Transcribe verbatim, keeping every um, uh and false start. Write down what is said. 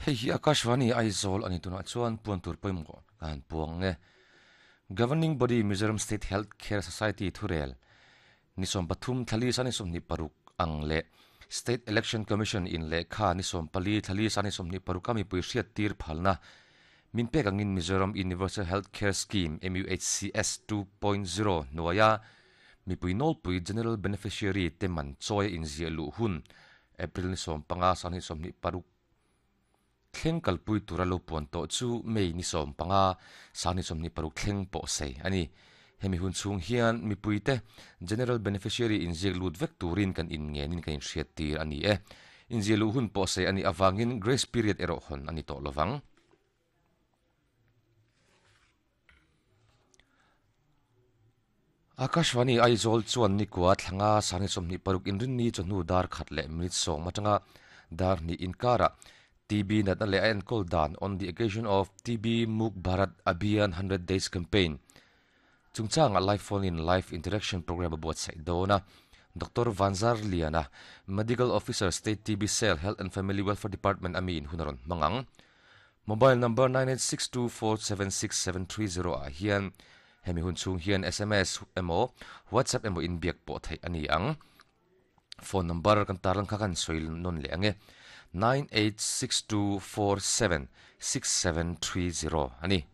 Hei hi Akashvani Aizawl ani tunah chuan puan tur pawimawh kan puang nge. Governing Body Mizoram State Health Care Society thurel ni sawm pathum thlali sani sawmhnih paruk ang leh State Election Commission in lehkha ni sawm pali thlali sani sawmhnih paruk a mipui hriat tir phalna min pek angin Mizoram Universal Health Care Scheme M U H C S two point zero hnuaia mipui nawlpui General Beneficiary te man chawi a inziah luh hun April ni sawm panga sani sawmhnih paruk thleng kalpui tura lo puan tawh chu May ni sawm panga sani sawmhnih paruk thleng pawh sei ani. Hemi hun chhung hian mipui te General Beneficiary inziak lut vek turin kan in ngenin kan inhriat tir ani e. Inziah luh hun pawh sei ani awangin grace period erawh hawn ani tawh lovang. Akashvani Aizawl chuan nikua thlanga sani sawmhnih paruk inrinni chawhnu dar khat leh minute sawm atanga dar hnih inkara T B natna leh a enkawl dan on the occasion of T B Muk Bharat Abhiyan hundred Days Campaign chungchanga live phone in live interaction program a buatsaih dawn a. Doctor Vanzar Liana, Medical Officer State T B Cell Health and Family Welfare Department ami in hun a rawn hmang ang. Mobile number nine eight six two four seven six seven three zero ah hian hemi hun chhung hian S M S emaw WhatsApp emaw inbiak pawh theih ani ang. Phone number kan tarlang kha kan sawi nawn leh ange nine eight six two four seven six seven three zero ani.